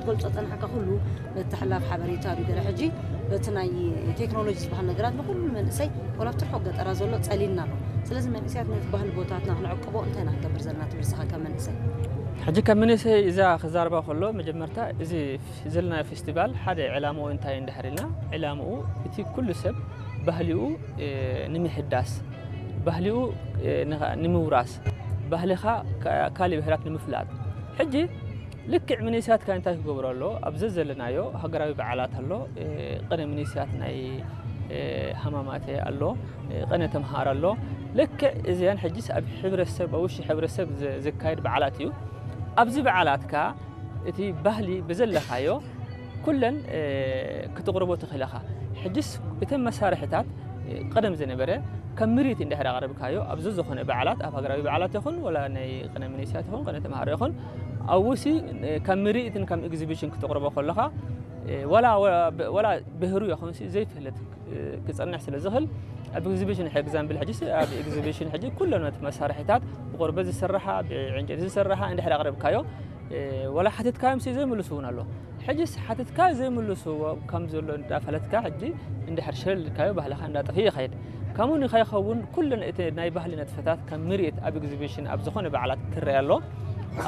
ገልጾ ጸናሕካ ኩሉ ምትሕልላፍ ሓበሬታ እዩ። ገለ ሕጂ በቲ ናይ ቴክኖሎጂ ዝበሃል ነገራት ንኹሉ መንእሰይ፣ ወላ ኣብቲ ርሑቕ ገጠራ ዘሎ ጸሊልና ኣሎ። ስለዚ መንእሰያት ነቲ ባህሊ ቦታትና ክንዕቅቦ እንታይ ኢና ክንገብር ዘለና ትብል ንስኻ ከም መንእሰይ? ሕጂ ከም መንእሰይ እዛ ክዛረባ ከሎ መጀመርታ እዚ ዘለናዮ ፌስቲቫል ሓደ ዕላምኡ እንታይ እንድሕር ኢልና፣ ዕላምኡ እቲ ኩሉ ሰብ ባህሊኡ፣ እ፣ ንምሕዳስ፣ ባህሊኡ፣ እ፣ ንኻ-፣ ንምውራስ፣ ባህልኻ ካ-፣ ካልእ ብሄራት ንምፍላጥ። ሕጂ ልክዕ መንእሰያትካ እንታይ ክገብሩ ኣሎ? ኣብ ዘዘለናዮ ሃገራዊ በዓላት ኣሎ፣ እ፣ ቅነ መንእሰያት ናይ፣ እ፣ ሃማማተ ኣሎ፣ እ፣ ቅነ ተምሃር ኣሎ። ልክዕ እዚኣን ሕጂስ ኣብ ሕብረተሰብ፣ ኣብ ውሽጢ ሕብረተሰብ ዝ-፣ ዝካየድ በዓላት እዩ። ኣብዚ በዓላትካ እቲ ባህሊ ብዘለካዮ ኩለን፣ እ፣ ክትቕርቦ ትኽእል ኢኻ። ሕጅስ እተን መሳርሕታት፣ እ፣ ቀደም ዝነበረ ከም ምርኢት እንድሕር ኣቕረብካዮ፣ ኣብዚ ዝኾነ በዓላት፣ ኣብ ሃገራዊ በዓላት ይኹን፣ ወላ ናይ ቅነ መንእሰያት ይኹን፣ ቅነ ተምሃሮ ይኹን፣ ኣብኡሲ፣ እ፣ ከም ምርኢትን ከም ኤግዚቢሽን ክትቕርቦ ከለኻ፣ እ፣ ወላ፣ ወላ፣ ወላ ብህሩ ይኹንሲ ዘይፍለጥ፣ እ፣ ክጸንሕ ስለ ዝኽእል፣ ኣብ ኤግዚቢሽን፣ ሕጂ ኤግዛምፕል፣ ሕጂ ኣብ ኤግዚቢሽን ሕጂ ኩለን እቲ መሳርሒታት ብቆርበት ዝስርሓ፣ ብዕንጨይቲ ዝስርሓ እንድሕር ኣቕረብካዮ፣ እ፣ ወላ ሓቲትካዮምሲ ዘይምልሱ እውን ኣሎ። ሕጂስ ሓቲትካ ዘይምልስዎ ከም ዘሎ እንዳፈለጥካ፣ ሕጂ እንድሕር ሸለል ኢልካዮ፣ ባህልኻ እንዳጠፍእ ይኸይድ። ከምኡ ንኸይኸውን ኩለን እቲ ናይ ባህሊ ነጥፈታት ከም ምርኢት ኣብ ኤግዚቢሽን ኣብ ዝኾነ በዓላት ክረአ ኣሎ።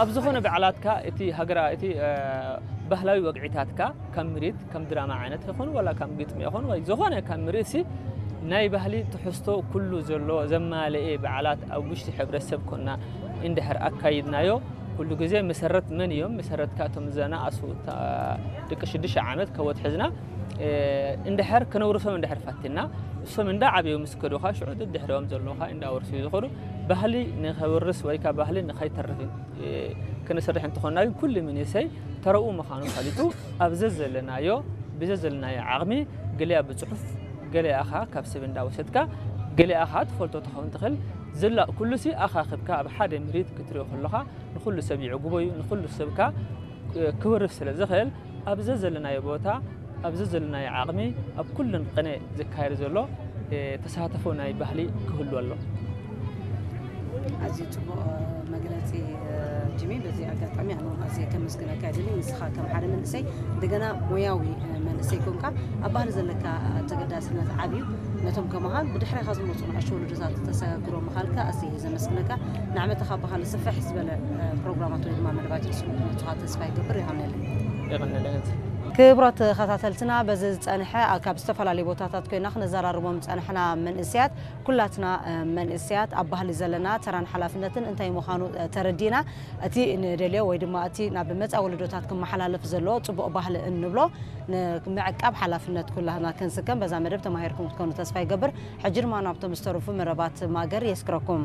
ኣብ ዝኾነ በዓላትካ እቲ ሃገራ-፣ እቲ፣ እ፣ ባህላዊ ወግዒታትካ ከም ምርኢት፣ ከም ድራማ ዓይነት ይኹን፣ ወላ ከም ግጥሚ ይኹን፣ ወይ ዝኾነ ከም ምርኢትሲ ናይ ባህሊ ትሕዝቶ ኩሉ ዘሎ ዘማለኤ በዓላት ኣብ ውሽጢ ሕብረተሰብ ኮና እንድሕር ኣካይድናዮ፣ ኩሉ ግዜ መሰረት መን እዮም? መሰረትካ እቶም ዝነኣሱ፣ እታ ደቂ ሽዱሽተ ዓመት ከወት ሒዝና፣ እ፣ እንድሕር ክነውርሶም እንድሕር ፈቲና፣ እሶም እንዳዓበዩ ምስ ከዱኻ፣ ሽዑ ድሕሪኦም ዘለዉኻ እንዳወርሱ እዩ ዝኸዱ። ባህሊ ንኸውርስ ወይ ከኣ ባህሊ ንኸይተርፍ፣ እ፣ ክንሰርሕ እንተኾንና ግን፣ ኩሉ መንእሰይ ተረኡ ምዃኑ ፈሊጡ፣ ኣብ ዘዘለናዮ፣ ብዘዘለናዮ ዓቕሚ፣ ገሊኣ ብጽሑፍ፣ ገሊኣ ኸኣ ካብ ሰብ እንዳወሰድካ፣ ገሊኣ ኸኣ ትፈልጦ ትኸውን ትኽእል። ዝላ-፣ ኩሉሲ ኣኻኺብካ ኣብ ሓደ ምርኢት ክትሪኦ ከለኻ፣ ንኹሉ ሰብ ይዕግቦ እዩ። ንኹሉ ሰብ ከኣ ክወርስ ስለ ዝኽእል፣ ኣብ ዘዘለናዮ ቦታ፣ ኣብ ዘዘለናዮ ዓቕሚ፣ ኣብ ኩለን ቅነ ዝካየድ ዘሎ፣ እ፣ ተሳትፎ ናይ ባህሊ ክህሉ ኣሎ። ኣዝዩ ጽቡቕ፣ እ፣ መግለጺ፣ እ፣ ጂሚ። በዚ ኣጋጣሚ ኣነ እውን ኣዝየ ከመስግነካ ይደሊ። ንስኻ ከም ሓደ መንእሰይ፣ እንደገና ሞያዊ፣ እ፣ መንእሰይ ኮንካ፣ ኣብ ባህሊ ዘለካ ተገዳስነት ዓብዩ። ነቶም ከማኻ ብድሕሬኻ ዝመጹ ንኣሽቱ ወለዶታት ተሰጋግሮ ምኻልካ ኣዝየ እየ ዘመስግነካ። ንዓመታ ካብ ባህሊ ስፍሕ ዝበለ፣ እ፣ ፕሮግራማት ወይ ድማ መደባት ሒዝኩም ክትመጹ ተስፋ ይገብር። የቐንየለይ። የቐንየለይ። ክቡራት ተኸታተልትና፣ በዚ ዝጸንሐ፣ ኣ፣ ካብ ዝተፈላለዩ ቦታታት ኮይና ክነዘራርቦም ዝጸናሕና መንእሰያት፣ ኩላትና፣ እ፣ መንእሰያት ኣብ ባህሊ ዘለና ተራን ሓላፍነትን እንታይ ምዃኑ፣ እ፣ ተረዲእና፣ እቲ ንደልዮ ወይ ድማ እቲ ናብ መጻኢ ወለዶታት ክመሓላለፍ ዘሎ ጽቡቕ ባህሊ እንብሎ ንምዕቃብ ሓላፍነት ኩላህና ክንስከም በዛ መደብ ተማሂርኩም ክትኮኑ ተስፋ ይገብር። ሕጂ ድማ ናብቶም ዝተረፉ መደባት ማእገር የስክረኩም።